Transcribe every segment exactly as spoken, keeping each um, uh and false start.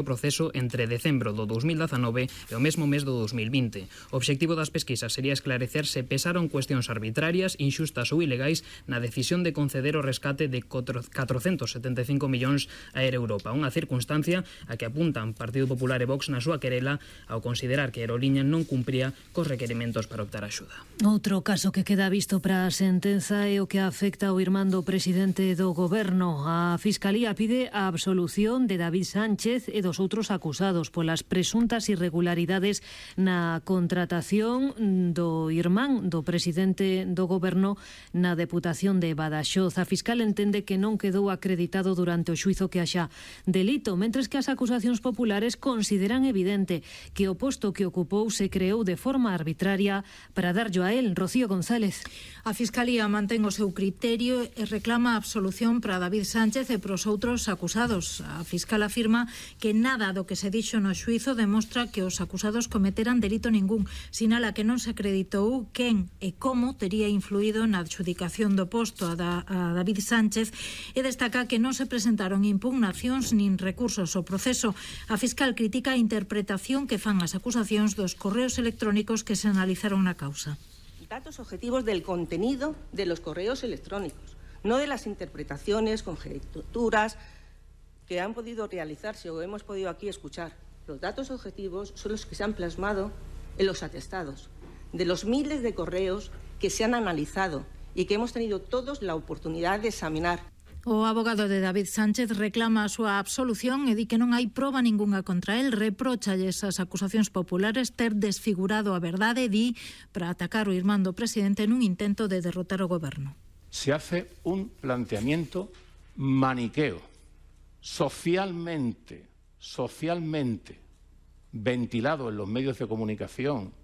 o proceso entre decembro do dous mil dezanove e o mesmo mes do dous mil vinte. O obxectivo das pesquisas sería esclarecer se pesaron cuestións arbitrarias, inxustas ou ilegais na decisión de conceder o rescate de catrocentos setenta e cinco millóns a Air Europa, unha circunstancia a que apuntan Partido Popular e Vox na súa querela ao considerar que a aeroliña non cumpría cos requerimentos para optar a axuda. Outro caso que queda visto para a sentenza é o que afecta ao irmán do presidente do Goberno. A Fiscalía pide a absolución de David Sánchez e dos outros acusados polas presuntas irregularidades na contratación do irmán do presidente do Goberno na Deputación de Badaxoz. A fiscal entende que non quedou acreditado durante o xuizo que haxa delito, mentres que as acusacións populares consideran evidente que o posto que ocupou se creou de forma arbitraria para darllo a él. Rocío González. A Fiscalía mantén o seu criterio e reclama a absolución para David Sánchez e para os outros acusados. A fiscal afirma que nada do que se dixo no xuizo demostra que os acusados cometeran delito ningún. Sinala que non se acreditou quen e como tería influído na adxudicación do posto a, da, a David Sánchez e destaca que non se presentaron impugnacións nin recursos ao proceso. A fiscal critica a interpretación que fan as acusacións dos correos electrónicos que se analizaron na causa. Datos objetivos del contenido de los correos electrónicos, no de las interpretaciones, conjeturas que han podido realizarse o hemos podido aquí escuchar. Los datos objetivos son los que se han plasmado en los atestados, de los miles de correos que se han analizado y que hemos tenido todos la oportunidad de examinar. O abogado de David Sánchez reclama a súa absolución e di que non hai proba ningunha contra el. Repróchalle esas acusacións populares ter desfigurado a verdade, di, para atacar o irmán do presidente nun intento de derrotar o goberno. Se hace un planteamiento maniqueo, socialmente, socialmente ventilado en los medios de comunicación,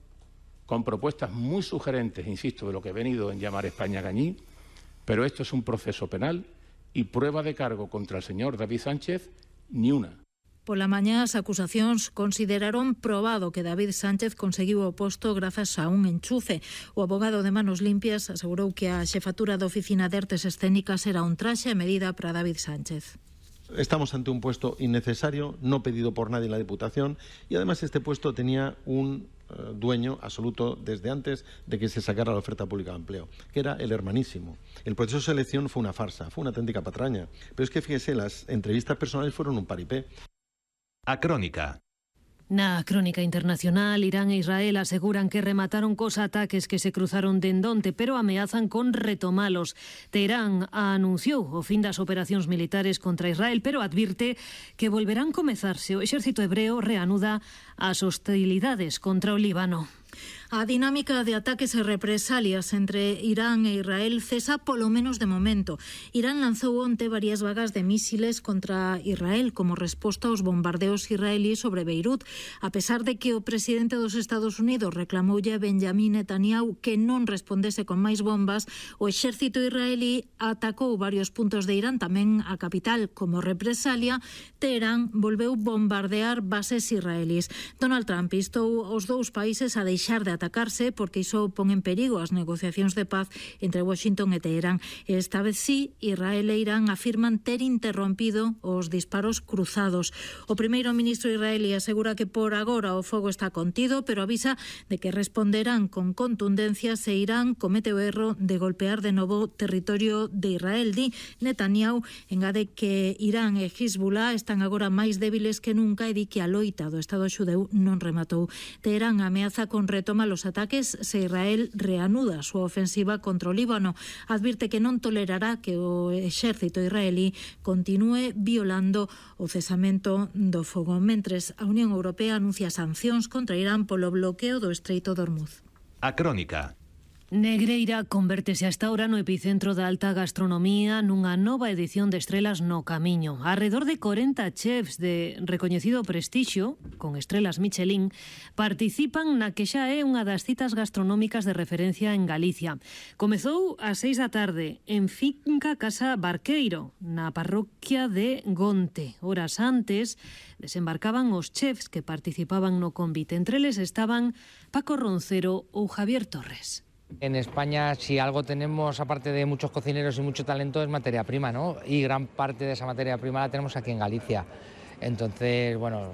con propuestas muy sugerentes, insisto, de lo que he venido en llamar España Gañí, pero esto es un proceso penal y prueba de cargo contra el señor David Sánchez, ni una. Pola mañá, as acusacións consideraron probado que David Sánchez conseguiu o posto grazas a un enchufe. O abogado de Manos Limpias asegurou que a xefatura da Oficina de Artes Escénicas era un traxe a medida para David Sánchez. Estamos ante un puesto innecesario, no pedido por nadie en la Diputación, y además este puesto tenía un uh, dueño absoluto desde antes de que se sacara la oferta pública de empleo, que era el hermanísimo. El proceso de selección fue una farsa, fue una auténtica patraña, pero es que fíjese, las entrevistas personales fueron un paripé. A Crónica. Na crónica internacional, Irán e Israel aseguran que remataron cos ataques que se cruzaron dendonte, pero ameazan con retomalos. Teherán anunciou o fin das operacións militares contra Israel, pero advirte que volverán comezarse. O exército hebreo reanuda as hostilidades contra o Líbano. A dinámica de ataques e represalias entre Irán e Israel cesa polo menos de momento. Irán lanzou onte varias vagas de mísiles contra Israel como resposta aos bombardeos israelíes sobre Beirut, a pesar de que o presidente dos Estados Unidos reclamoulle a Benjamín Netanyahu que non respondese con máis bombas. O exército israelí atacou varios puntos de Irán, tamén a capital. Como represalia, Teherán volveu bombardear bases israelíes. Donald Trump instou os dous países a deixar de atacarse porque iso pon en perigo as negociacións de paz entre Washington e Teherán. Esta vez sí, Israel e Irán afirman ter interrompido os disparos cruzados. O primeiro ministro israelí asegura que por agora o fogo está contido, pero avisa de que responderán con contundencia se Irán comete o erro de golpear de novo territorio de Israel. Di Netanyahu engade que Irán e Hezbollah están agora máis débiles que nunca e di que a loita do Estado xudeu non rematou. Teherán ameaza con retoma los ataques se Israel reanuda a súa ofensiva contra o Líbano. Advirte que non tolerará que o exército israelí continúe violando o cesamento do fogo. Mentres, a Unión Europea anuncia sancións contra Irán polo bloqueo do Estreito de Hormuz. A Crónica. Negreira convértese hasta ahora no epicentro da alta gastronomía nunha nova edición de Estrelas no Camiño. Arredor de corenta chefs de recoñecido prestixio, con estrelas Michelin, participan na que xa é unha das citas gastronómicas de referencia en Galicia. Comezou ás seis da tarde en Finca Casa Barqueiro, na parroquia de Gonte. Horas antes desembarcaban os chefs que participaban no convite. Entre eles estaban Paco Roncero ou Javier Torres. En España, si algo tenemos, aparte de muchos cocineros y mucho talento, es materia prima, ¿no? Y gran parte de esa materia prima la tenemos aquí en Galicia. Entonces, bueno,